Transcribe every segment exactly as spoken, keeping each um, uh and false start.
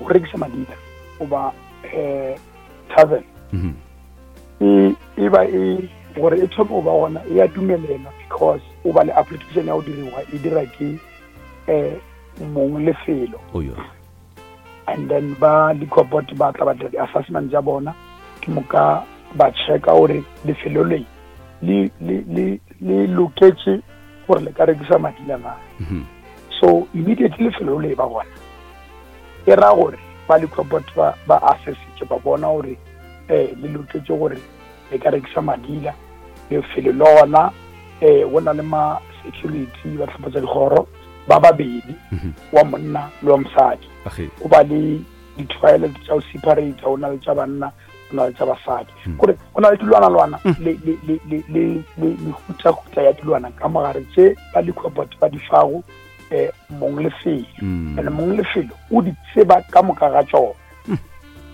Go rekisa madila goba um tavern Mhm. e e ba e gore e thome go ba gona, e a dumelelwa because o ba le application ya go diriwa, e dira ke um mong lefelo. Oyo. And then ba liquor board ba tla ba dira di-assessment tša bona, ke moka ba checka gore lefelo le le le le le loketše gore le ka rekisa madila na. Mhm. So immediately lefelo le ba gona, e ra gore ba liquor board ba ba assessitše, ba bona gore um le loketše gore le ka rekisa madila. Lefelo le gona um go na le ma security ba tlhopha tsa dikgoro ba babedi, Mhm. wa monna le wa mosadi. Age. O ba le di-toilet tša go separate, go na le tša banna, go na le tša basadi, Mm. gore go na le dilwana-lwana Mm. le le le le le le mehutahuta ya dilwana ka mogare tše ba liquor board ba di fago um mong lefelo. Mm. And mong lefelo o di tseba ka moka ga tšona. Mm.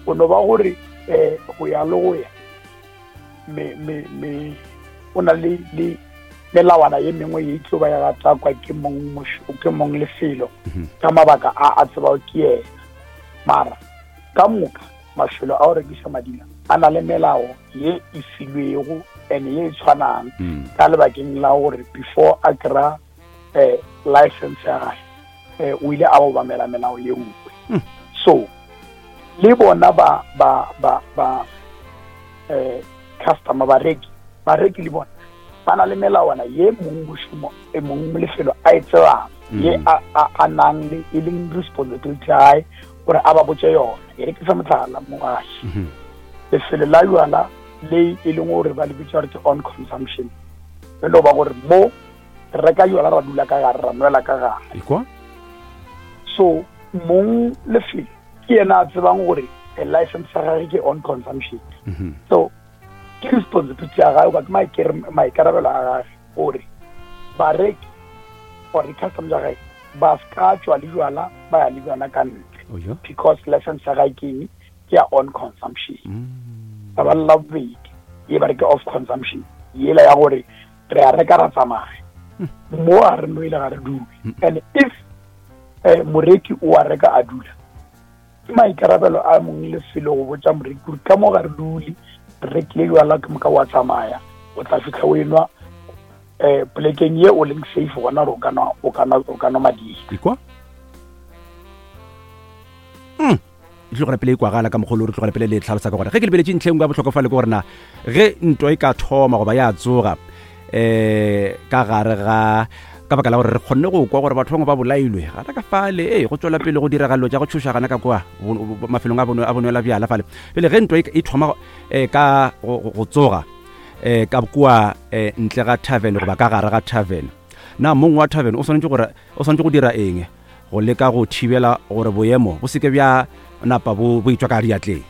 O no ba gore um go ya le go ya me me me o na le le melawana ye mengwe ye e tlo ba ya gatakwa ke mong mošo- ke mong lefelo Mhm. ka mabaka a a tsebago ke yena. Mara ka moka mafelo a go rekiša madila a na le melao ye e filwego and ye e tshwanang Mm. ka lebakeng la gore before a kry-a um license ya gage, um o ile a obamela melao ye nngwe. Mm. So le bona ba ba ba ba eh customer, bareki bareki le bona ba na le melawana ye mong mošomo e mong lefelo a e tsebang, Mm. ye a a- a nang le e leng responsibility ya hae gore a ba botse yona. E re ke fa motlhala, moaši. Mhm. Lefelo la jwala le e leng gore ba le bitsa gore ke on consumption, e no ba gore mo re reka jwala, ra dula ka gare, ra nwela ka gare. Ekwa. So mong lefelo ke yena a tsebang gore eh, license ya gage ke on consumption. Mhm. So ke responsibility ya gage goba ke maikere- maikarabelo a gage gore bareki or di-customer tša gage ba ska tšwa le jwala ba ya le bjona ka ntle, Oyo. because license ya gage ke eng? Ke ya on consumption. Mm. Taba la bobedi ye ba re ke off consumption, yela ya gore re a reka, ra tsamaya, mo a re nwele, ga re dule. And if eh, moreki o a reka a dula, ke maikarabelo a mong lefelo go botsa moreki gore ka mo ga re dule, re rekile jwala, ke moka wa tsamaya, o tla fitlha o enwa um polekeng ye o leng safe gona gore o ka nwa- o ka nwa- o ka nwa madila. Ekwa. Mm. E tlogela pele e kwagala ka mogolo, re tlogela pele le tlhalosa ka gore ge ke lebeletše ntlheng ya bohlokwa fale ke gore na ge ntwa e ka thoma goba ya tsoga um ka gare ga ka baka la gore re kgonne go kwa gore batho bangwe ba bolailwe gana ka fale, ee, go tswela pele go diragalo tša go tšhoša gana ka kwa bo- bo- mafelong a bono- a bonwela bjala fale. Pele ge ntwa e e thoma um ka go go- go tsoga um ka kua um ntle ga tavern goba ka gare ga tavern, na mong wa tavern o swanetše gore o swanetše go dira eng go leka go thibela gore boemo bo seke bja napa bo bo itswa ka diatleng?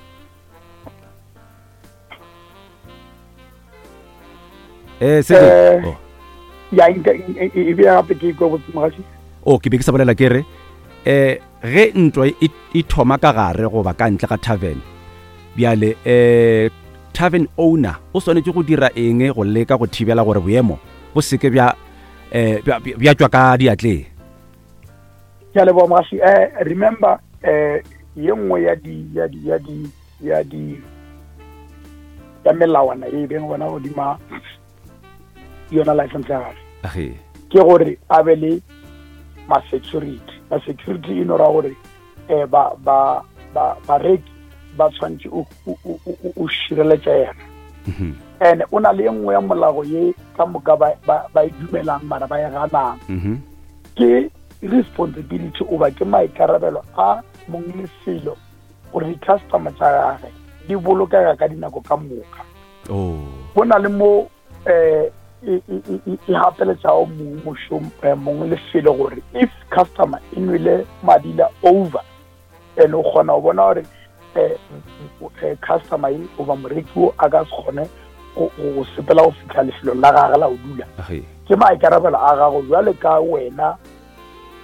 Eh se Eh, oh. Ya nka e- e e bea gape ke ikwe botse, mogaši. O ke be ke sa bolela ke re eh ge ntwa e e thoma ka gare goba ka ntle ga tavern, bjale eh tavern owner o swanetše go dira eng go leka go thibela gore boemo bo seke bja eh bja bja- bja tšwa ka diatleng? Ke a leboga, mogaši. um remember um ye nngwe ya di ya di ya di ya di ya melawana e beng gona godima yona license ya gage Age. ke gore a be le ma-security. Ma-security e no ra gore um ba ba ba bareki ba tshwanetse o- o- o o- o šireletša yena. Mhm. And o na le ye nngwe ya molao ye ka moka ba ba- ba e dumelang mara ba e ganang. Mhm. Ke responsibility oba ke maikarabelo a mong lefelo gore di-customer tša gage di bolokega ka dinako ka moka. Oh. Go na le mo um e e- e- e gapeletšago mong mošomo eh, mong lefelo gore if customer e nwele madila over and o kgona go bona gore um customer e goba moreki o a ka se kgone go go sepela go fitlha lefelong la gage la go dula, Age. ke maikarabelo a gago jwale ka wena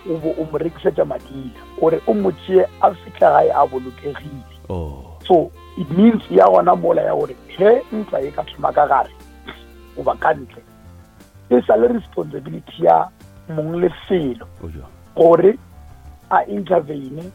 o bo o mo rekisetša madila gore o mo tšee a fitlha gae a bolokegile. Oh. So it means ya gona mola ya gore ge ntwa e ka thoma ka gare goba ka ntle, e sa le responsibility ya mong lefelo Ojo. gore a intervene.